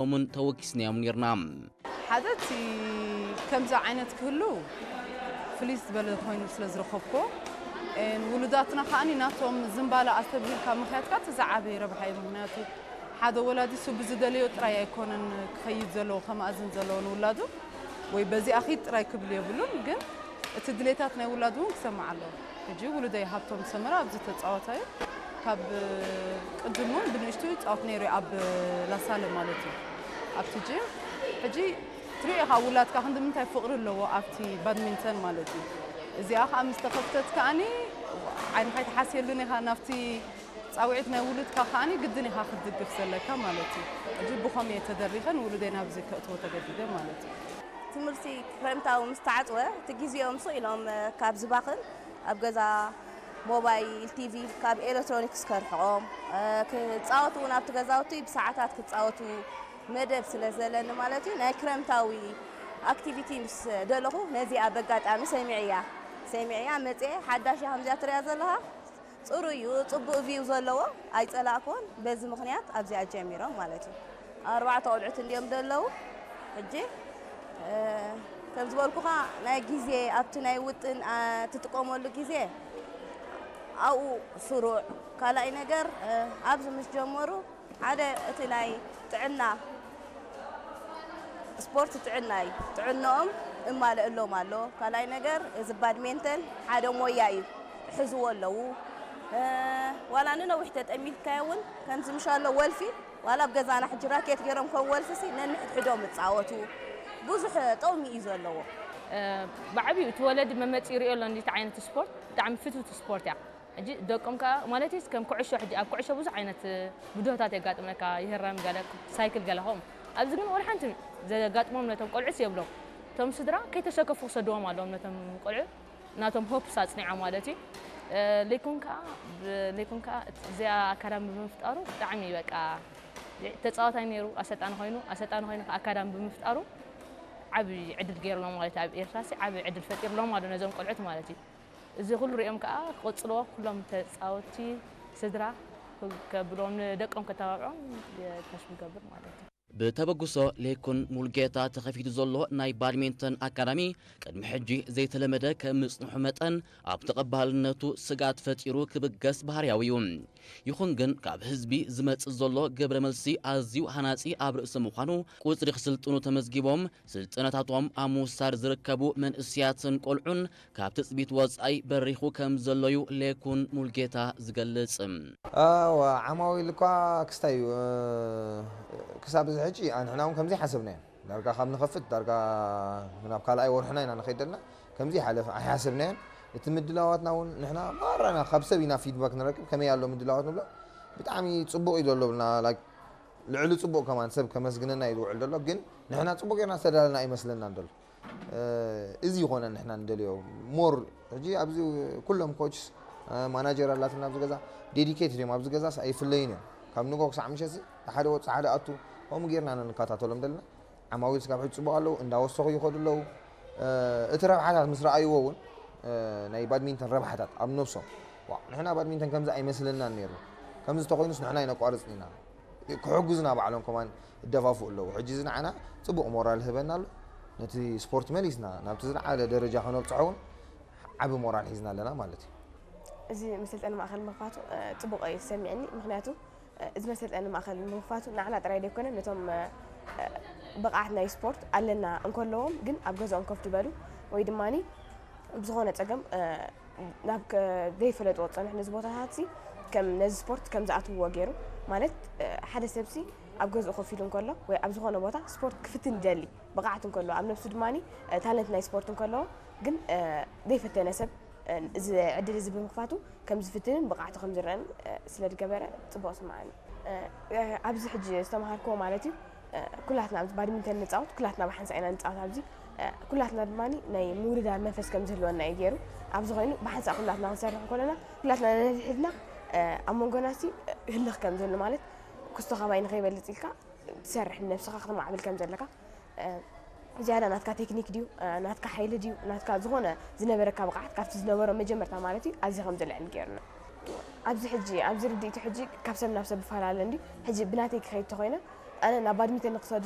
ኦምን ተወኪስናዮም ነርና። ሓደ እቲ ከምዚ ዓይነት ክህሉ ፍልይ ዝበለ ኮይኑ ስለ ዝረኸብኮ ውሉዳትና ከዓኒ ናቶም ዝንባለ ኣስተብሂልካ ምኽያድካ እቲ ዝዓበየ ረብሓ እዩ። ምክንያቱ ሓደ ወላዲ እሱ ብዝደለዮ ጥራይ ኣይኮነን ክኸይድ ዘለዎ ከመኣዝን ዘለዎ ንውላዱ ወይ በዚኣ ኺድ ጥራይ ክብል የብሉን፣ ግን እቲ ድሌታት ናይ ውላዱ እውን ክሰማዕ ኣለዎ። ሕጂ ውሉደይ ሃብቶም ሰመረ ኣብዚ ተፃዋታይ እዩ። ካብ ቅድም እውን ብንእሽቱ ይፃወት ነይሩ እዩ ኣብ ላሳለ ማለት እዩ ኣብቲ ጂም። ሕጂ ትሪኦ ኢኻ ውላድካ ክንዲ ምንታይ ፍቕሪ ኣለዎ ኣብቲ ባድሚንተን ማለት እዩ። እዚኣ ከዓ ምስ ተኸፍተት ከዓኒ ዓይንኻ ኣይትሓስየሉን ኢኻ ናብቲ ፃውዒት ናይ ውሉድካ ከዓኒ ግድን ኢኻ ክትድግፍ ዘለካ ማለት እዩ። ሕጂ ብኸም እየ ተደሪኸን ውሉደይ ናብዚ ከእትዎ ተገዲደ ማለት እዩ። ትምህርቲ ክረምታዊ ምስ ተዓፅወ እቲ ግዜኦም ስቕ ኢሎም ካብ ዝባኽን ኣብ ገዛ ሞባይል ቲቪ ካብ ኤሌክትሮኒክስ ከርሕቖም ክፃወቱ እውን ኣብቲ ገዛውቲ ብሰዓታት ክፃወቱ መደብ ስለ ዘለኒ ማለት እዩ ናይ ክረምታዊ ኣክቲቪቲ ምስ ደለኹ ነዚኣ በጋጣሚ ሰሚዐያ ሰሚዐያ መፅአ ሓዳሽ እያ ከምዚኣ ትሪያ ዘለኻ ፅሩይ እዩ ፅቡቕ ቪው ዘለዎ ኣይፀላእክዎን በዚ ምኽንያት ኣብዚኣ ጀሚሮም ማለት እዩ ኣርባዕተ ቆልዑት እንዲዮም ዘለዉ ሕጂ ከም ዝበልኩኻ ናይ ግዜ ኣብቲ ናይ ውጥን ትጥቀመሉ ግዜ ኣብኡ ስሩዕ ካልኣይ ነገር ኣብዚ ምስ ጀመሩ ሓደ እቲ ናይ ጥዕና ስፖርት ጥዕና እዩ ጥዕንኦም እማለእሎም ኣሎ ካልኣይ ነገር እዚ ባድሜንተን ሓደ ሞያ እዩ ሕዝዎ ኣለዉ ዋላ ንነዊሕ ተጠሚትካዮ እውን ከምዚ ምሻሎ ወልፊ ዋላ ኣብ ገዛና ሕጂ ራኬት ገይሮም ከም ወልፊ ሲ ነንሕድሕዶም እፃወቱ ብዙሕ ጠቕሚ እዩ ዘለዎ ብዓብዩ እቲ ወለዲ መመፂ ይሪኦ ኣሎ እንዲቲ ዓይነት ስፖርት ብጣዕሚ ፍትውቲ ስፖርት እያ ሕጂ ደቆም ከዓ ማለት ከም ኩዕሾ ሕጂ ኣብ ኩዕሾ ብዙሕ ዓይነት ብድሆታት የጋጥመካ ይህረም ገለ ሳይክል ገለ ከምኡ ኣብዚ ግን ወላ ሓንቲ ዘጋጥሞም ነቶም ቆልዑስ የብሎም እቶም ስድራ ከይተሰከፉ ክሰድዎም ኣለዎም ነቶም ቆልዑ ናቶም ሆፕስ ኣፅኒዖም ማለት እዩ ሌኮን ከዓ ሌኮን ከዓ እዚኣ ኣካዳሚ ብምፍጣሩ ብጣዕሚ በቃ ተፃዋታይ ነይሩ ኣሰልጣኒ ኮይኑ ኣሰልጣኒ ኮይኑ ከዓ ኣካዳሚ ብምፍጣሩ ዓብዪ ዕድል ገይርሎም ማለት እዩ ኣብ ኤርትራ ሲ ዓብዪ ዕድል ፈጢርሎም ኣሎ ነዞም ቆልዑት ማለት እዩ እዚ ኩሉ ሪኦም ከዓ ክቕፅልዎ ኩሎም ተፃወቲ ስድራ ከብሎም ንደቆም ከተባብዖም ተስፉ ይገብር ማለት እዩ ብተበግሶ ሌኩን ሙልጌታ ተኸፊቱ ዘሎ ናይ ባድሜንተን ኣካዳሚ ቅድሚ ሕጂ ዘይተለመደ ከም ምጽንሑ መጠን ኣብ ተቐባልነቱ ስጋት ፈጢሩ ክብገስ ባህርያዊ እዩ። ይኹን ግን ካብ ህዝቢ ዝመጽእ ዘሎ ግብረ መልሲ ኣዝዩ ሃናጺ ኣብ ርእሲ ምዃኑ ቁጽሪ ክስልጥኑ ተመዝጊቦም ስልጠናታቶም ኣብ ምውሳድ ዝርከቡ መንእስያትን ቆልዑን ካብ ትጽቢት ወጻኢ በሪኹ ከም ዘሎ እዩ ሌኩን ሙልጌታ ዝገልጽ። ዓማዊል እኳ ክስታይ እዩ ክሳብ እዚ ሕጂ ንሕና እውን ከምዚ ሓሰብና ኢና ዳርጋ ካብ ንኸፍት ዳርጋ ናብ ካልኣይ ወርሕና ኢና ንኸይድ ዘለና ከምዚ ሓለፍ ኣይሓሰብናዮን እቲ ምድላዋትና እውን ንሕና ማራና ካብ ሰብ ኢና ፊድባክ ንረክብ ከመይ ኣሎ ምድላዋት ንብሎ ብጣዕሚ ፅቡቅ እዩ ዘሎ ብልና ልዕሊ ፅቡቅ ከማን ሰብ ከመስግነና እዩ ዝውዕል ዘሎ ግን ንሕና ፅቡቅ ጌርና ዝተዳለና ኣይመስለናን ዘሎ እዚ ይኾነ ንሕና ንደልዮ more ሕጂ ኣብዚ ኩሎም coaches manager ኣላትና ኣብዚ ገዛ dedicated እዮም ኣብዚ ገዛስ ኣይፍለዩን እዮም ካብ ንጎ ክሳዕ ምሸት ሓደ ወፅ ሓደ ኣቱ ከምኡ ጌርና ኢና ንከታተሎም ዘለና ዓማዊል ስጋብ ሕጂ ፅቡቅ ኣለዉ እንዳወሰኹ ይኸዱ ኣለዉ እቲ ረብሓታት ምስ ረኣይዎ እውን ናይ badminton ረብሓታት ኣብ ነብሶም ንሕና badminton ከምዚ ኣይመስለናን ነይሩ ከምዚ ተኮይኑስ ንሕና ይነቋርፅን ኢና ክሕግዙና ባዕሎም ከማን ይደፋፍኡ ኣለዉ ሕጂ እዚ ንዓና ፅቡቕ ሞራል ይህበና ኣሎ ነቲ ስፖርት መሊስና ናብቲ ዝለዓለ ደረጃ ከነብፅሖ እውን ዓቢ ሞራል ሒዝና ኣለና ማለት እዩ እዚ መሰልጠኒ ማእኸል ምኽፋቱ ፅቡቕ እዩ ዝሰሚዕኒ ምክንያቱ እዚ መሰልጠኒ ማእኸል ምኽፋቱ ንዓና ጥራይ ዘይኮነ ነቶም ብቕዓት ናይ ስፖርት ኣለና እንከለዎም ግን ኣብ ገዝኦም ኮፍ ዝበሉ ወይ ድማ ብዝኾነ ፀገም ናብ ዘይፈለጥዎ ዝፀንሑ ነዚ ቦታታት ሲ ከም ነዚ ስፖርት ከም ዝኣትውዎ ገይሩ ማለት ሓደ ሰብ ሲ ኣብ ገዝኡ ኮፍ ኢሉ እንከሎ ወይ ኣብ ዝኾነ ቦታ ስፖርት ክፍትን ይደሊ ብቕዓት እንከሎ ኣብ ነብሱ ድማ ታለንት ናይ ስፖርት እንከሎ ግን ዘይፈተነ ሰብ እዚ ዕድል እዚ ብምኽፋቱ ከም ዝፍትንን ብቕዓቱ ከም ዝረአን ስለ ዝገበረ ፅቡቕ ስምዓኒ ኣብዚ ሕጂ ዝተምሃርክዎ ማለት እዩ ኩላትና ኣብዚ ባድሚንተን ንፃወት ኩላትና ብሓንሳእ ኢና ንፃወት ኣብዚ ኩላትና ድማ ናይ ምውድዳር መንፈስ ከም ዝህልወና እዩ ገይሩ ኣብዚ ኮይኑ ብሓንሳእ ኩላትና ክንሰርሕ ከለና ኩላትና ነንሕድሕድና ኣብ መንጎና ሲ ህልኽ ከም ዝህሉ ማለት ኩስቶ ካባይ ንኸይበልፅ ኢልካ ትሰርሕ ንነብስኻ ክትማዕብል ከም ዘለካ ዝያዳ ናትካ ቴክኒክ ድዩ ናትካ ሓይሊ ድዩ ናትካ ዝኾነ ዝነበረካ ብቕዓት ካብቲ ዝነበሮ መጀመርታ ማለት እዩ ኣዝዩ ከም ዝልዕል ገይሩና ኣብዚ ሕጂ ኣብዚ ርድኢቱ ሕጂ ካብ ሰብ ናብ ሰብ ይፈላለ እንድዩ ሕጂ ብናተይ ክኸይድ ተኾይነ ኣነ ናብ ባድሚንተን ንክሰዱ